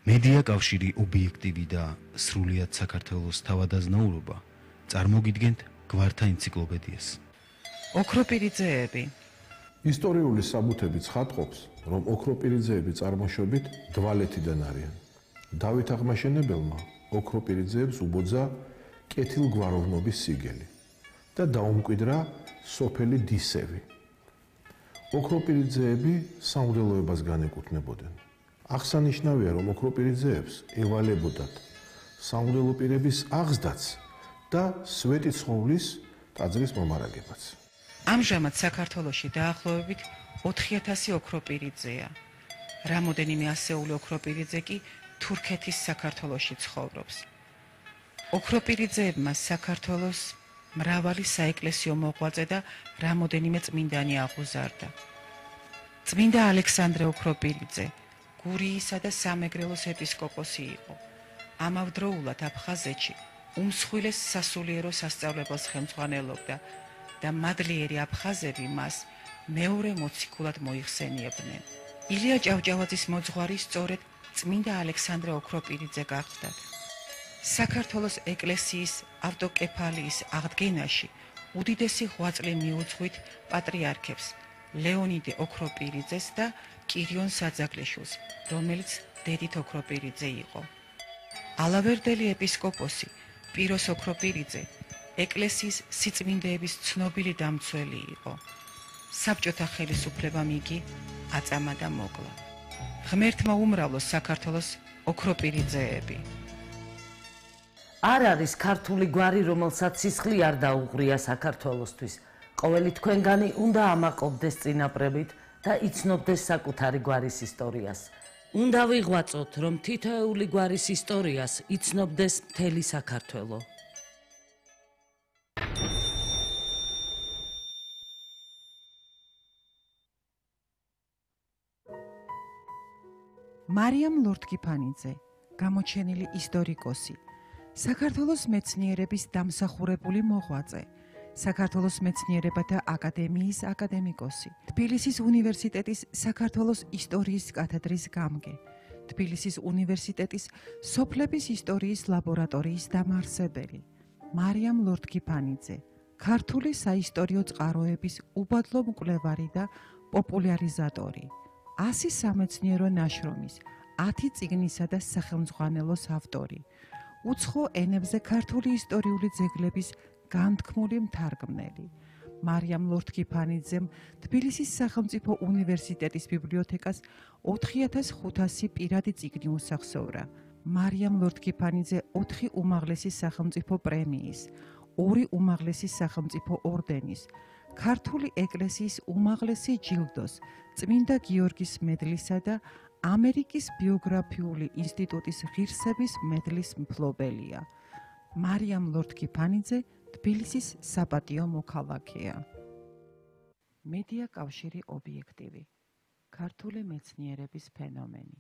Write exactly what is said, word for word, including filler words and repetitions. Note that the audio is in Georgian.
მედია კავშირი ობიექტივი და სრულიად საქართველოს თავადაზნაურობა წარმოგიდგენთ გვართა ენციკლოპედიას. ოქროპირიძეები. ისტორიული საბუთები ცხადყოფს, რომ ოქროპირიძეები წარმოშობით დვალეთიდან არიან. დავით აღმაშენებელმა ოქროპირიძეებს უბოძა კეთილგვაროვნობის სიგელი და დაუმკვიდრა სოფელი დისევი. ოქროპირიძეები სამღვდელოებას განეკუთვნებოდნენ. აღსანიშნავია, რომ ოქროპირიძეებს ევალებოდათ სამღვდელო პირების აღზრდაც და სვეტიცხოვლის ტაძრის მომარაგებაც. ამჟამად საქართველოში დაახლოებით ოთხი ათასი ოქროპირიძეა. რამოდენიმე ასეული ოქროპირიძე კი თურქეთის საქართველოში ცხოვრობს. ოქროპირიძეებმა საქართველოს მრავალი საეკლესიო მოღვაწე და რამოდენიმე წმინდანი აღუზარდა. წმინდა ალექსანდრე ოქროპირიძე გურიისა და სამეგრელოს ეპისკოპოსი იყო. ამავდროულად აფხაზეთში უმსხვილეს სასულიერო სასწავლებელს ხელმძღვანელობდა და მადლიერი აფხაზები მას მეორე მოციქულად მოიხსენიებდნენ. ილია ჭავჭავაძის მოძღვარი სწორედ წმინდა ალექსანდრე ოქროპირიძე გახლდათ. საქართველოს ეკლესიის ავტოკეფალიის აღდგენაში უდიდესი ღვაწლი მიუძღვით პატრიარქებს ლეონიდე ოქროპირიძეს და კირიონ საძაგლიშვილს, რომელიც დედით ოქროპირიძე იყო. ალავერდელი ეპისკოპოსი პიროს ოქროპირიძე ეკლესიის სიწმინდეების ცნობილი დამცველი იყო. საბჭოთა ხელისუფლებამ იგი აწამა და მოკლა. ღმერთმა უმრავლოს საქართველოს ოქროპირიძეები. არ არის ქართული გვარი, რომელსაც სისხლი არ დაუღრია საქართველოსთვის. ყოველი თქვენგანი უნდა ამაყობდეს წინაპრებით და იცნობდეს საკუთარი გვარის ისტორიას. უნდა ვიღვაწოთ, რომ თითოეული გვარის ისტორიას იცნობდეს მთელი საქართველო. მარიამ ლორთქიფანიძე, გამოჩენილი ისტორიკოსი, საქართველოს მეცნიერების დამსახურებული მოღვაწე, საქართველოს მეცნიერებათა აკადემიის აკადემიკოსი, თბილისის უნივერსიტეტის საქართველოს ისტორიის კათედრის გამგე, თბილისის უნივერსიტეტის სოფლების ისტორიის ლაბორატორიის დამაარსებელი. მარიამ ლორთქიფანიძე, ქართული საისტორიო წყაროების უბადლო მკვლევარი და პოპულარიზატორი. ასი სამეცნიერო ნაშრომის, ათი წიგნისა და სახელმძღვანელოს ავტორი. უცხო ენებზე ქართული ისტორიული ძეგლების განთქმული მთარგმნელი. მარიამ ლორთქიფანიძემ თბილისის სახელმწიფო უნივერსიტეტის ბიბლიოთეკას ოთხი ათას ხუთასი პირადი წიგნი უსახსოვრა. მარიამ ლორთქიფანიძე ოთხი უმაღლესი სახელმწიფო პრემიის, ორი უმაღლესი სახელმწიფო ორდენის, ქართული ეკლესიის უმაღლესი ჯილდოს, წმინდა გიორგის მედლისა და ამერიკის ბიოგრაფიული ინსტიტუტის ღირსების მედლის მფლობელია. მარიამ ლორთქიფანიძე თბილისის საპატიო მოქალაქეა. მედია კავშირი ობიექტივი. ქართული მეცნიერების ფენომენი.